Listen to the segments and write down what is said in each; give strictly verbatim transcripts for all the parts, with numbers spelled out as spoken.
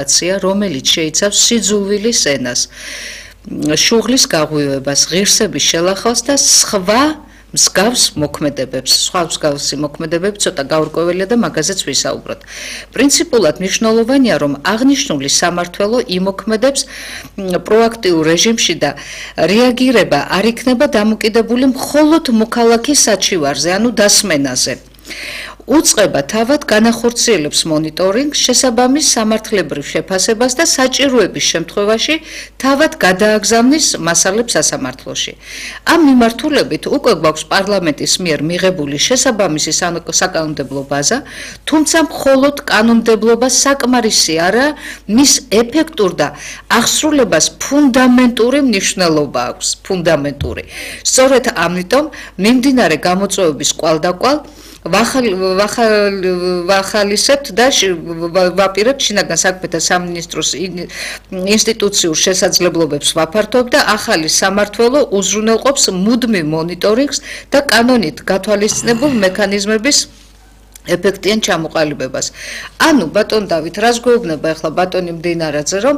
რომელიც შეიცავს სიძულვილის ენას, შუღლის გაღვივებას, ღირსების შელახავს და სხვა მსგავს მოქმედებებს, სხვა მსგავსი მოქმედებები ცოტა გაურკვეველია და მაგაზეც ვისაუბროთ. პრინციპულად მნიშვნელოვანია, რომ აღნიშნული სამმართველო იმოქმედებს პროაქტიულ რეჟიმში და რეაგირება არ იქნება დამოკიდებული მხოლოდ მოქალაქის საჩივარზე, ანუ დასმენაზე. უწყება თავად განახორციელებს მონიტორინგს, შესაბამის სამართლებრივ შეფასებას და საჭიროების შემთხვევაში თავად გადააგზავნის მასალებს სასამართლოში. ამ მიმართულებით უკვე გვაქვს პარლამენტის მიერ მიღებული შესაბამისი საკანონმდებლო ბაზა, თუმცა მხოლოდ კანონმდებლობა საკმარისი არაა, მის ეფექტურ და აღსრულებას ფუნდამენტური მნიშვნელობა აქვს, ფუნდამენტური. სწორედ ამიტომ მიმდინარე გამოწვევების კვალდაკვალ ვახალისებთ და ვაპირებთ შინაგან საქმეთა სამინისტროს ინსტიტუციურ შესაძლებლობებს ვაფართოვებ და ახალი სამმართველო უზრუნველყოფს მუდმივ მონიტორინგს და კანონით გათვალისწინებულ მექანიზმების ეფექტიან ჩამოყალიბებას. ანუ ბატონ დავით, რას გვეუბნება ახლა ბატონი მდინარაძე, რომ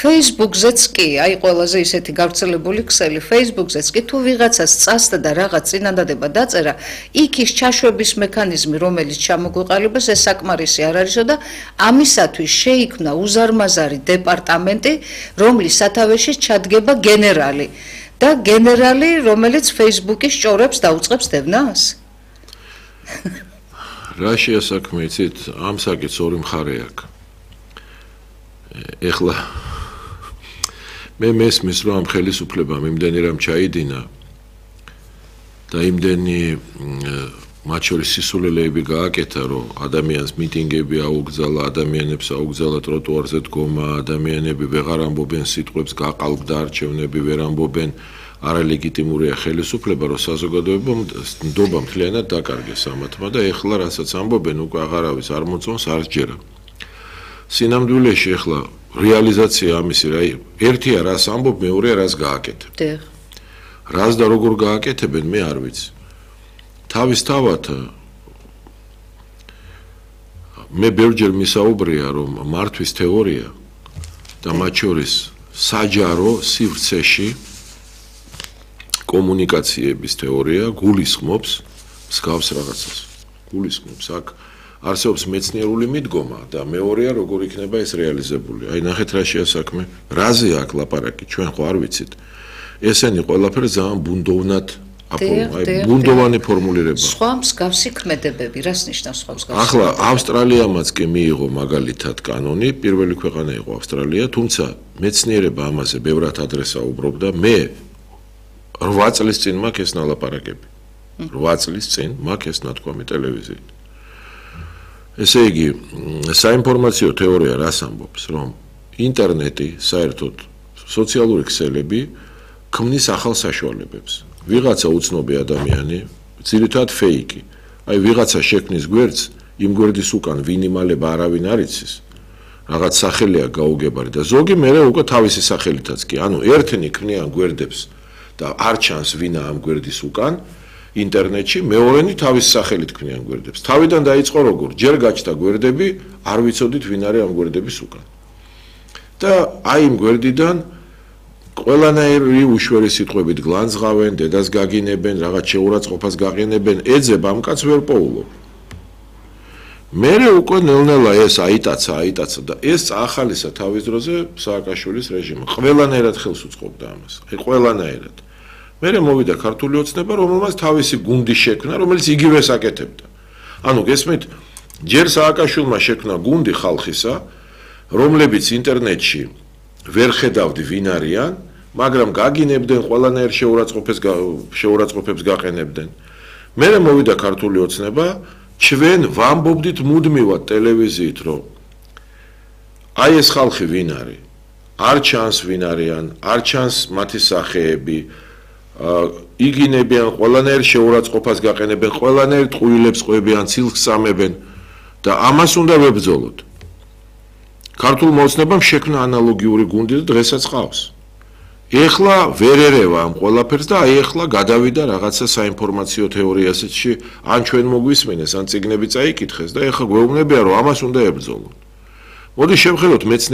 Facebook-ზეც კი, აი ყველაზე ისეთი გავრცელებული ქსელი, Facebook-ზეც კი თუ ვიღაცას წასდა და რაღაც წინადადება დაწერა, იქ ის ჩაშვების მექანიზმი, რომელიც ჩამოგვეყალიბეს, ეს საკმარისი არ არისო და ამისათვის შეიქმნა უზარმაზარი დეპარტამენტი, რომლის სათავეში ჩადგება გენერალი და გენერალი, რომელიც Facebook-ის ჭორებს დაუწყებს დევნას. რა შეასაქმე იცით, ამ საკითხს ორი მხარე აქვს. ეხლა მე მესმის, რომ ამ ხელისუფლებამ იმდენი რამ ჩაიდინა და იმდენი მათ შორის სისულელეები გააკეთა, რომ ადამიანს მიტინგები აუგზალა, ადამიანებს აუგზალა ტროტუარზე დგომა, ადამიანები ვეღარ ამბობენ სიტყვებს, გაყალბდა არჩევნები, ვერ ამბობენ. არალეგიტიმურია ხელისუფლება, რომ საზოგადოებამ ნდობა მთლიანად დაკარგეს ამათმა და ეხლა რასაც ამბობენ, უკვე აღარავის არ მოწონს, არ სჯერა. სინამდვილეში ეხლა რეალიზაცია ამისი რა, ერთია რას ამბობ, მეორეა რას გააკეთებ. რას და როგორ გააკეთებენ, მე არ ვიცი. თავისთავად მე ბევრჯერ მისაუბრია, რომ მართვის თეორია და მათ შორის საჯარო სივრცეში კომუნიკაციების თეორია გულისხმობს მსგავს რაღაცას. გულისხმობს აქ არსებობს მეცნიერული მიდგომა და მეორეა როგორ იქნება ეს რეალიზებული. აი ნახეთ რა შეასაქმე, რაზე აქ ლაპარაკი, ჩვენ ხო არ ვიცით. ესენი ყველაფერი ძალიან ბუნდოვნად აი ბუნდოვანი ფორმულირება. სხვა მსგავსი ქმედებები, რას ნიშნავს სხვა მსგავსი? ახლა ავსტრალიამაც კი მიიღო მაგალითად კანონი, პირველი ქვეყანა იყო ავსტრალია, თუმცა მეცნიერება ამაზე ბევრად ადრე საუბრობდა. მე რვა წლის წინ მაქვს ეს ნალაპარაკები. რვა წლის წინ მაქვს ეს ნათქვამი ტელევიზიით. ესე იგი, საინფორმაციო თეორია რას ამბობს, რომ ინტერნეტი, საერთოდ სოციალური ქსელები ქმნის ახალ საშუალებებს. ვიღაცა უცნობი ადამიანი, ძირითადად ფეიკი. აი ვიღაცა შექმნის გვერდს, იმ გვერდის უკან ვინ იმალება არავინ არ იცის. რაღაც სახელია გაუგებარი და ზოგი მერე უკვე თავისი სახელითაც კი. ანუ ერთნი ქმნიან გვერდებს და არ ჩანს ვინა ამ გვერდის უკან ინტერნეტში, მეორენი თავის სახელით ქმნიან გვერდებს. თავიდან დაიწყო როგორ, ჯერ გაჩნდა გვერდები, არ ვიცოდით ვინ არის ამ გვერდების უკან. და აი იმ გვერდიდან ყველანაირი უშვერი სიტყვებით გლანძღავენ, დედას გაგინებენ, რაღაც შეურაცხყოფას გაყენებენ, ეძებ ამ კაცს ვერ პოულობ. მერე უკვე ნელ-ნელა ეს აიტაცა, აიტაცა და ეს წაახალისა თავის დროზე სააკაშვილის რეჟიმმა. ყველანაირად ხელს უწყობდა ამას. აი ყველანაირად. მერე მოვიდა ქართული ოცნება, რომელმაც თავისი გუნდი შექმნა, რომელიც იგივეს აკეთებდა. ანუ გესმით, ჯერ სააკაშვილმა შექმნა გუნდი ხალხისა, რომლებიც ინტერნეტში ვერ ხედავდი ვინ არიან, მაგრამ გაგინებდნენ ყველანაირ შეურაცხყოფებს შეურაცხყოფებს გაყენებდნენ. მერე მოვიდა ქართული ოცნება, ჩვენ ვამბობდით მუდმივად ტელევიზიით, რომ აი ეს ხალხი ვინ არის? არ ჩანს ვინ არიან, არ ჩანს მათი სახეები, იგინებიან ყველანაირ შეურაცხყოფას გაყენებენ, ყველანაირ ტყუილებს ყვებიან, ცილს სამებენ და ამას უნდა ვებრძოლოთ. ქართულმა ოცნებამ შექმნა ანალოგიური გუნდი და დღესაც ყავს. ეხლა ვერ ერევა ამ ყველაფერს და აი ეხლა გადავიდა რაღაცა საინფორმაციო თეორიასში, ან ჩვენ მოგვისმენეს, ან წიგნები წაიკითხეს და ეხლა გვეუბნებიან, რომ ამას უნდა ებრძოლოთ. მოდი შევხედოთ მეცნიერ